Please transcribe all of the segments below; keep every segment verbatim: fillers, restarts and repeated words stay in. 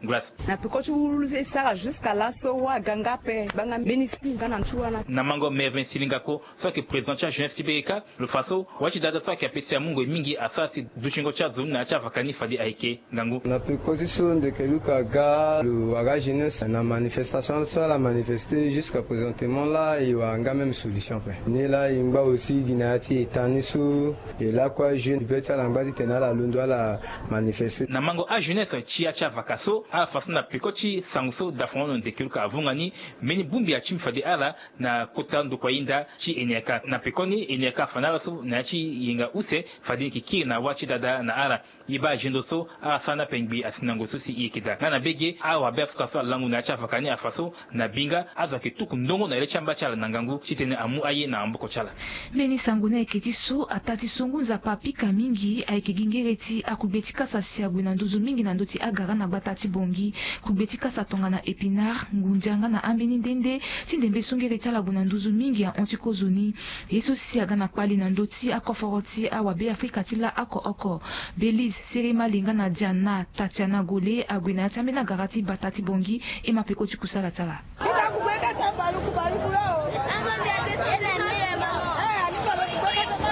Glace. Na peko ti wulu so e sara jusqu'à laso wa aga nga ape gbanga mbeni si nga na ntu wala. Na mango Mervin Silingako so ayeke président ti ajeunesse ti B K, lo fa so wa ti dada so ayeke apesi amungo e mingi asara si dutingo ti azo ni na ya ti avaka ni fade ayeke ngangu. Na peko ti so ndeke Luka aga, lo wara ajeunesse na manifestation so ala manifeste jusqu'à présentement la, e wara nga même solution ape. Ni la e ngba aussi gi na ya ti eta ni so e lakue ajeune be ti ala ngba titene ala londo ala manifeste. Na mango ajeunesse ti ya ti avaka so, ala fa so na peko ti sango so dafonono ndeke Luka avunga ni, mbeni bongbi atimi fade ala na kota ndokua hinda ti Eniaka. Na pekoni Eniaka afa na ala so na ya ti yenga use fade ni yeke kiri na wa ti dada na ala. E baa azendo so ala sara ni ape ngbii asi na ngoi so si e yeke daa. Nga na mbage awabe afuka so alango na ya ti avaka ni afa so na binga azo ayeke tuku ndongo na le ti amba ti ala na ngangu titene amu aye na maboko ti ala. Mbeni sango ni ayeke ti so ataa ti so ngu nzapa apika mingi ayeke gi ngere ti akugbe ti kasa si ague na nduzu mingi na ndö ti agara na gbata ti Bangui. Kugbe ti kasa tongana épinard, ngundia nga na ambeni nde nde ti ndembe so ngere ti ala gue na nduzu mingi ahon ti kozoni. Ye so si aga na kpali na ndö ti akoforo ti awabe Afrika ti la oko oko. Belize, Sere Mali nga na Diana, Tatiana Gole ague na ya ti ambeni agara ti gbata ti Bangui. E ma peko ti kusala ti ala.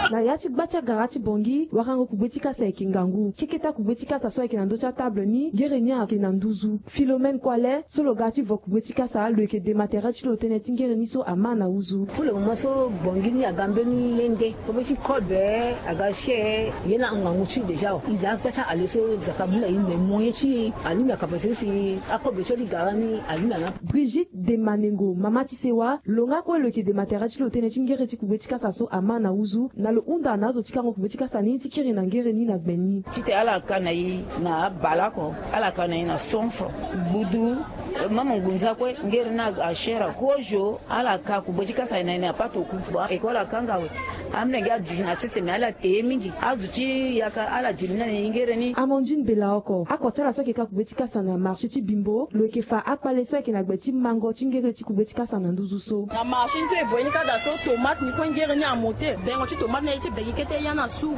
Na ya ti gba ti agara ti Bangui, warango kugbe ti kasa ayeke ngangu. Keke ti akugbe ti kasa so ayeke na ndö ti atable ni, ngere ni ayeke na nduzu. Philomène Kuale so lo ga ti vo kugbe ti kasa, lo yeke dema tere ti lo tënë ti ngere ni so ama na nduzu. Pour le moment so Bangui ni aga mbeni ye nde, kogbe ti code aga share ye na ngangu ti déjà o. E za akpe ti ale so Nzapa mu na e, mais moyen ti e alingbi akapa so si akogbe so ti gara ni alingbi ana. Brigitte Demanengo, mama ti sewa, lo nga kue lo yeke dema tere ti lo tënë ti ngere ti kugbe ti kasa so ama na nduzu, na lo hunda na azo ti kango kugbe ti kasa ni ti kiri na ngere ni na gbe ni. Titene ala ka na e na abale oko, ala ka na e na cent francs. Gbudu, eh, mama ngunza kue, ngere ni ashare. Kozo, ala ka kugbe ti kasa na e na patoko. Bon, école akanga awe. Amolenge aduti na sese, me ala te ye mingi. Azo ti yaka ala diri ni na e ngere ni. Amandine Belaoko, ako ti ala so ayeke ka kugbe ti kasa na marché ti Bimbo, lo yeke fa akpale so ayeke na gbe ti mango ti ngere ti kugbe ti kasa na nduzu so. Na marché ni so e voye ni ka daa so, tomate ni kue ngere ni amote. Bengo ti tomate ni aye ti be gi kete ya na suru.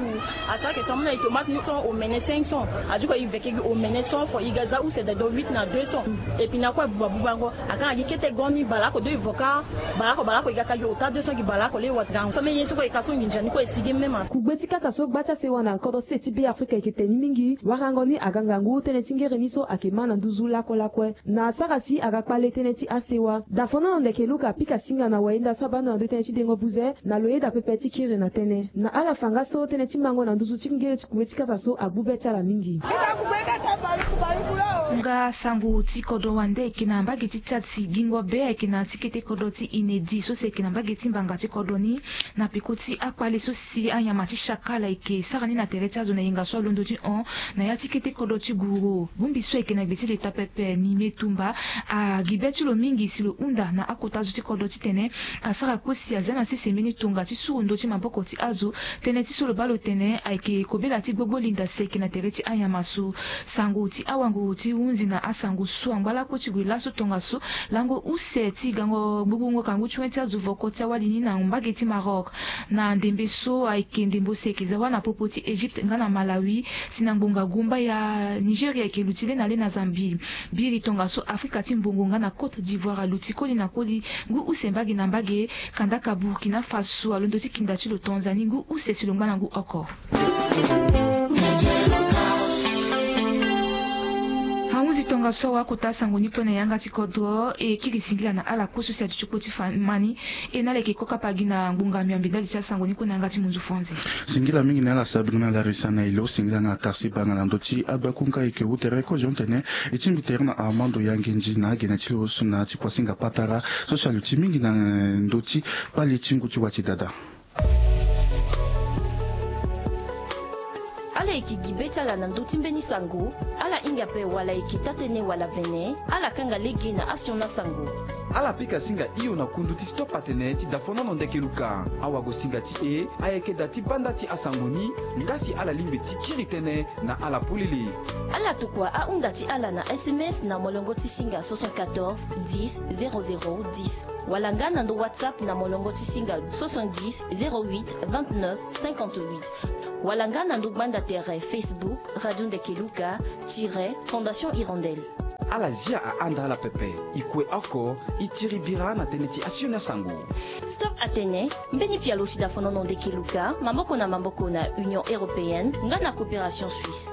Asara ayeke so amu na e tomate ni so omene cinq cents. Adiko e veke gi omene cent francs, e ga za use dado huit na deux cents. Et puis na kue buba bubango. Akanga gi kete go ni baleoko, do e vo ka baleoko, baleoko e ga ka gi ota deux cents gi baleoko le wa gango so. Même ye so kue e ka so nginza ni kue e sigi même. Kugbe ti kasa so gba ti asewa na kodro sese ti Be Afrika ayeke te ni mingi. Warango ni aga ngangu tënë ti ngere ni so ayeke ma na nduzu lakue lakue. Na asara si aga kpale tënë ti asewa. Dafonono ndeke Luka apika singa na wayenda so abando na ndö tënë ti dengo buze, na lo yeda pepe ti kiri na tënë. Na ala fa nga so tënë ti mango na nduzu ti ngere ti kugbe ti kasa so agbu be ti ala mingi. Nga sango ti kodro wande ayeke na mbage ti Tchad si gingo be ayeke na ya ti kete kodro ti Inedi so si ayeke na mbage ti mbanga ti kodro ni. Na peko ti akpale so si anyama ti chacal ayeke sara ni na tere ti azo na yenga so alondo ti hon na ya ti kete kodro ti Guro. Bongbi so ayeke na gbe ti leta pepe, Nime Tumba, agi be ti lo mingi si lo hunda na akota zo ti kodro titene asara kue si azia na sese mbeni tonga ti suru ndö ti maboko ti azo. Tënë ti so lo baa lo tene ayeke kobela ti gbogbo linda si ayeke na tere ti anyama so. Sango ti awanguru ti hunzi na asango so angba lakue ti gue laso tongaso, lango use ti gango gburungo kangu ti wen ti azo voko ti awali ni na mbage ti Maroc. Na ndembe so ayeke ndembo si ayeke za wâ na popo ti Égypte nga na Malawi, si na ngbonga gumba ya Nigeria ayeke luti lê na lê na Zambie. Biri tongaso Afrika ti mbongo nga na Côte d'Ivoire aluti koli na koli ngu use mbage na mbage. Kandaka Burkina Faso alondo ti kinda ti lo tonzani ngu use si lo ngba na ngu oko. Ahunzi tongaso awa akota sango ni kue na yanga ti kodro e kiri singila na ala kue so si aduti kpo ti fa ma ni. E na ala yeke kokapa gi na ngbonga miombe ndali ti asango ni kue na yanga ti munzu franzi. Singila mingi na ala sabiri na larisa na ilo singila na tarsi banga na ndö ti agbakunga eke wu tere kozo tene e tingbi tere na Armando Yangenzi na agene ti lo so na ti kuasinga patara so si aluti mingi na ndö ti kpali ti ngu ti wa ti dada. Ala yeke gi be ti ala na ndö ti mbeni sango. Ala hinga ape wala e yeke taa tënë wala vene, ala kanga lege na asioni asango. Ala pika singa hio na kundu ti stop atene ti dafonono ndeke luka. Awagosinga ti e ayeke da ti banda ti asango ni nga si ala lingbi ti kiri tënë na ala polele. Ala tokua ahunda ti ala na S M S na molongo ti singa soixante-quatorze dix zéro zéro dix wala nga na ndo WhatsApp na molongo ti singa soixante-dix zéro huit vingt-neuf cinquante-huit wala nga na ndo gbanda tere Facebook Radio Ndeke Luka tiret Fondation Hirondelle. Ala zia ahanda ala pepe. E kue oko, e tiri bira na tënë ti asioni asango. Stop atene, mbeni pialo si dafonono ndeke luka maboko na maboko na Union européenne nga na coopération suisse.